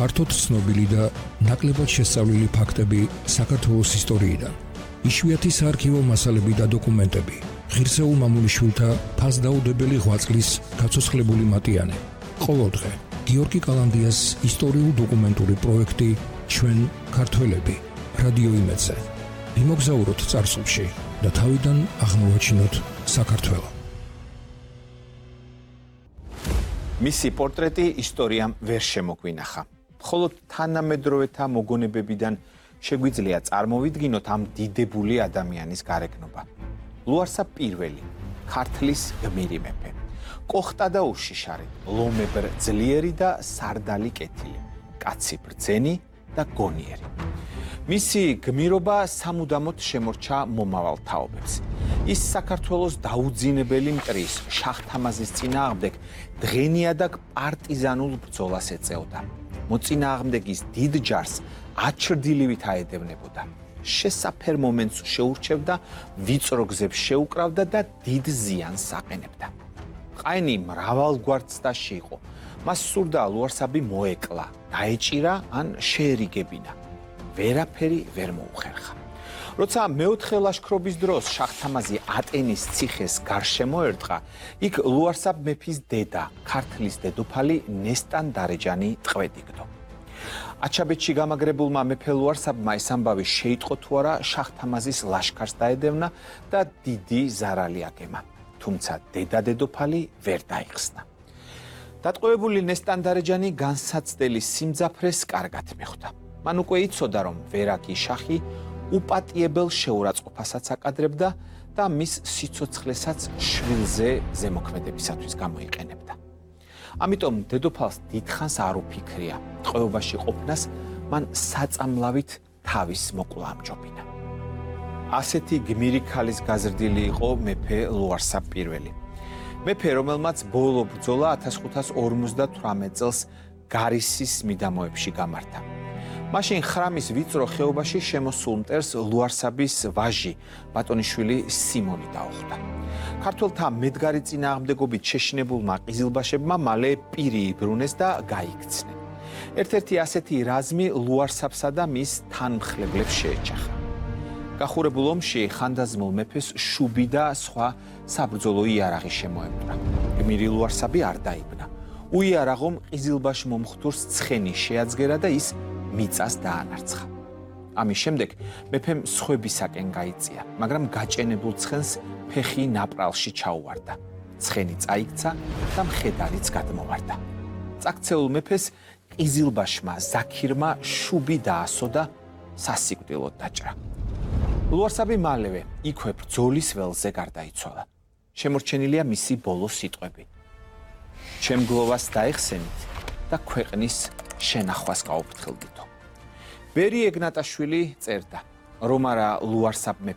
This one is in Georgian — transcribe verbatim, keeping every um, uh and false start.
ფართოდ ცნობილი და ნაკლებად შესწავლილი ფაქტები საქართველოს ისტორიიდან. იშვიათი საარქივო მასალები და დოკუმენტები. ღირსეულ მამულიშვილთა ფასდაუდებელი ღვაწლის გაცოცხლებული მატიანე. ყოველდღე გიორგი კალანდიას ისტორიულ-დოკუმენტური პროექტი ჩვენ ქართველები რადიო იმედზე. ვიმოგზაუროთ წარსულში და თავიდან აღმოვაჩინოთ საქართველო. მისი პორტრეტი ისტორიამ ვერ შემოგვინახა. მხოლოდ თანამედროვეთა მოგონებებიდან შეგვიძლია წარმოვიდგინოთ ამ დიდებული ადამიანის გარეგნობა. ლუარსაბ პირველი, ქართლის გმირი მეფე. კოხტა და უშიშარი, ლომებრ ძლიერი და სარდალი კეთილი, კაცი ბრძენი და გონიერი. მისი გმირობა სამუდამოდ შემორჩა მომავალ თაობებს. ის საქართველოს დაუძინებელი მტრის შაჰ-თამაზის წინააღმდეგ დღენიადაგ პარტიზანულ ბრძოლას ეწეოდა. მოწინააღმდეგის დიდ ჯარს აჩრდილივით აედევნებოდა. შესაფერ მომენტს შეურჩევდა, ვიწრო გზებს შეუკრავდა და დიდ ზიანს აყენებდა. ყაენი მრავალგვარ ცდაში იყო. მას სურდა ლუარსაბი მოეკლა, დაეჭირა ან შეერიგებინა. ვერაფერი ვერ მოუხერხა. როცა მეოთხე ლაშქრობის დროს შაჰ-თამაზი ატენის ციხეს გარშემო ერტყა, იქ ლუარსაბ მეფის დედა, ქართლის დედოფალი ნესტან დარეჯანი ტყვედ-იგდო. აჩაბეთში გამაგრებულმა მეფე ლუარსაბმა ეს ამბავი შეიტყო თუ არა შაჰ-თამაზის ლაშქარს დაედევნა და დიდი ზარალი აგემა. თუმცა დედა-დედოფალი ვერ დაიხსნა. დატყვევებული ნესტან დარეჯანი განსაცდელი სიმძაფრეს კარგად მიხვდა. მან უკვე იცოდა, რომ ვერაგი შაჰი უპატიებელ შეურაცხყოფასაც აკადრებდა და მის სიცოცხლესაც შვილზე ზემოქმედებისათვის გამოიყენებდა. ამიტომ დედოფალს დიდხანს არ უფიქრია, ტყვეობაში ყოფნას მან საწამლავით თავის მოკლა ამჯობინა. ასეთი გმირი ქალის გაზრდილი იყო მეფე ლუარსაბ პირველი. მეფე, რომელმაც ბოლო ბრძოლა ათას ხუთას ორმოცდათვრამეტ წელს გარისის მიდამოებში გამართა. მაშინ ხრამის ვიწრო ხეობაში შემოსულ მტერს ლუარსაბის ვაჟი, ბატონიშვილი სიმონი დაუხვდა. ქართველთა მედგარი წინააღმდეგობით შეშინებულმა ყიზილბაშებმა მალე პირი იბრუნეს და გაიქცნენ. ერთ-ერთი ასეთი რაზმი ლუარსაბსა და მის თანმხლებლებს შეეჯახა. გახურებულ ომში ხანდაზმულ მეფეს შუბი და სხვა საბრძოლო იარაღი შემოემკვრა. გმირი ლუარსაბი არ დაიბნა. უიარაღომ ყიზილბაშ მომხდურს ცხენი შეაძგერა და ის მიწას დაანარცხა. ამის შემდეგ მეფემ სხვებისაკენ გაიწია, მაგრამ გაჭენებულ ცხენს ფეხი ნაპრალში ჩაუვარდა. ცხენი წაიქცა და მხედარიც გადმოვარდა. წაქცეულ მეფეს ყიზილბაშმა ზაქირმა შუბი დაასო და სასიკვდილოდ დაჭრა. ლუარსაბი მალევე იქვე ბრძოლის ველზე გარდაიცვალა. შემორჩენილია მისი ბოლო სიტყვები. ჩემ გლოვას დაეხსენით და ქვეყნის შენახვას გაუფრთხილდითო. ბერი ეგნატაშვილი წერდა, რომ არა ლუარსაბ მეფე